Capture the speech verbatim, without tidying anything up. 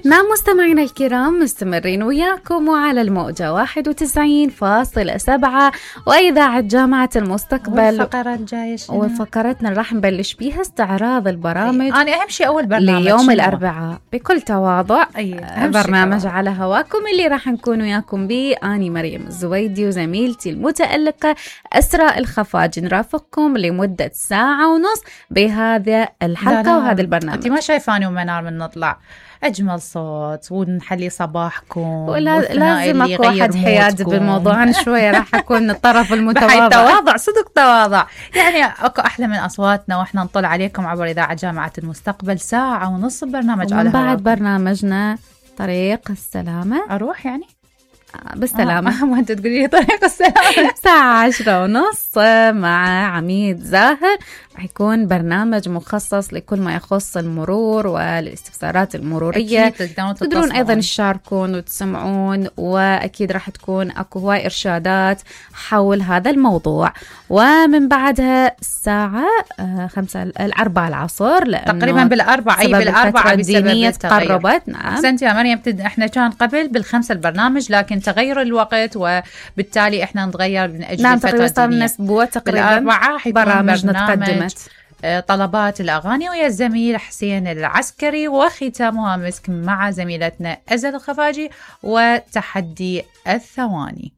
نعم مستمعينا الكرام، مستمرين وياكم وعلى الموجة واحد وتسعين فاصلة سبعة وإذاعة جامعة المستقبل. والفقرة الجاية شنو؟ وفقرتنا راح نبلش بيها استعراض البرامج. أنا أهم شيء أول برنامج ليوم الأربعاء بكل تواضع. أيه. برنامج على هواكم اللي راح نكون وياكم به أني مريم الزويدي وزميلتي المتألقة أسراء الخفاجي، نرافقكم لمدة ساعة ونص بهذا الحلقة. لا لا. وهذا البرنامج أنت ما شايفاني ومنار من نطلع أجمل صوت ونحلي صباحكم، لازم أكو واحد حياد بالموضوع. أنا شوية راح أكون الطرف المتواضع. تواضع صدق تواضع، يعني أكو أحلى من أصواتنا وإحنا نطل عليكم عبر إذاعة جامعة المستقبل ساعة ونص برنامج على هواكم. بعد برنامجنا طريق السلامة أروح يعني بالسلامة. آه. ما أنت تقولي لي طريق السلامة. ساعة عشرة ونص مع عميد زاهر، راح يكون برنامج مخصص لكل ما يخص المرور والاستفسارات المرورية. تقدرون أيضا تشاركون وتسمعون، وأكيد راح تكون أكو هواي إرشادات حول هذا الموضوع. ومن بعدها الساعة خمسة الأربعة العصر، تقريبا بالأربعة أي بالأربعة الدينية تقربت. نعم أحسنتي يا مريم. إحنا كان قبل بالخمسة البرنامج، لكن تغير الوقت وبالتالي إحنا نتغير من أجل نعم الفترة الدينية. أسبوع تقريبا برامجنا تقدمت طلبات الأغاني ويا الزميل حسين العسكري، وختامها مسك مع زميلتنا أزل الخفاجي وتحدي الثواني.